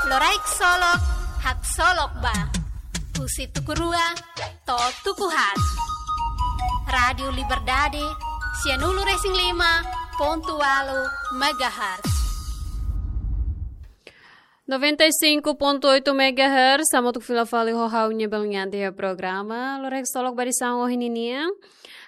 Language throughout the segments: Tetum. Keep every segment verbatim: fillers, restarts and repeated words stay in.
Loraik Solok, haksolok ba. Husi tuku rua to'o tuku haat. Rádiu Liberdade, sianulu-resin-lima pontu ualu megahertz. Noventa e cinco ponto oito megahertz, hamutuk fila fali ho ha'u-nia belun Yanti iha programa Loraik Solok ba edisaun ohin ninian.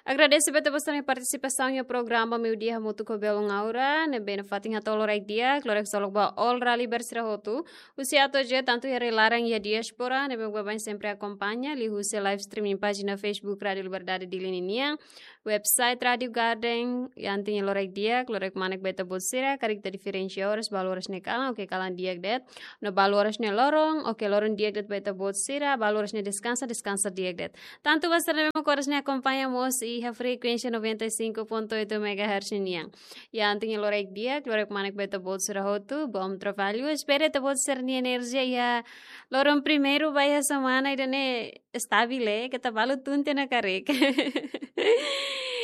Agradese ba ita-boot sira-nia partisipasaun iha programa Meiudia hamutuk ho belun Aura, ne'ebé nafatin hato'o loraik di'ak, loraik solok ba all raliber sira hotu. Husi atu je tantu iha rai-laran iha diáspora, ne'ebé baibain sempre akompaña, liuhusi live streaming pájina Facebook Rádiu Liberdade Dili ninian, website Rádiu Garden, Yanti nia loraik di'ak, loraik kmanek ba ita-boot sira, karik ita diferensia oras, balu oras ne'e kalan, oke kalan di'ak de'it, no balu oras ne'e loron, oke loron di'ak de'it ba ita-boot sira, balu oras ne'e deskansa, deskansa di'ak de'it. Tantu ba sira ne'ebé mak oras ne'e akompaña mós iha frekuénsia noventa e cinco ponto oito megahertz nian. Yanti nia loraik di'ak, loraik kmanek ba ita-boot sira hotu, bom trabalho. Espera ita-boot sira-nia enerjia iha loron primeiru ba iha semana ida-ne'e estabil, eh, keta balu tun tiha ona karik.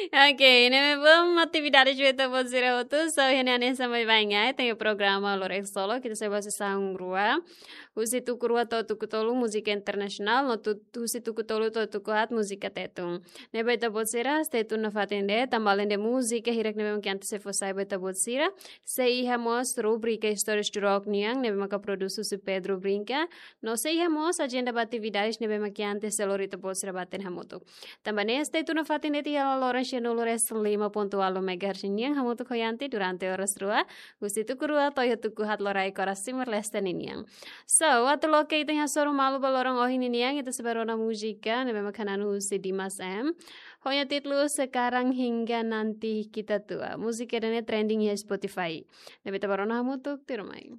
Oke, ne'e bom atividade ba ita-boot sira hotu, so iha ne'e hanesan baibain, eh, tenke programa Loraik Solok, ita sei ba sesaun rua. Husi tuku rua to'o tuku tolu múzika internasionál, no tu-, husi tuku tolu to'o tuku haat múzika Tetun. Ne'e ba ita-boot sira, stay tune nafatin de'it, tanba alende múzika hirak ne'ebé mak Yanti sei fó sai ba ita-boot sira, sei iha mós rubrika Histórias do Rock nian, ne'ebé maka prodús husi Pedro Brinca, no sei iha mós ajenda ba atividades ne'ebé mak Yanti sei lori ita-boot sira ba hatene hamutuk. Tanba ne'e stay tune nafatin de'it iha loron sianulu-resin-lima pontu ualu megahertz nian hamutuk ho Yanti durante oras rua, husi tuku rua to'o iha tuku haat loraik oras timor-leste ninian. So, atu loke ita-nia hasoru malu ba loron ohin ninian, ita sei ba rona múzika ne'ebé mak hananu husi Dimas M. Ho nia títulu Sekarang Hingga Nanti Kita Tua. Múzika ida-ne'e trending iha Spotify. Ne'ebé ita ba rona hamutuk, tuirmai.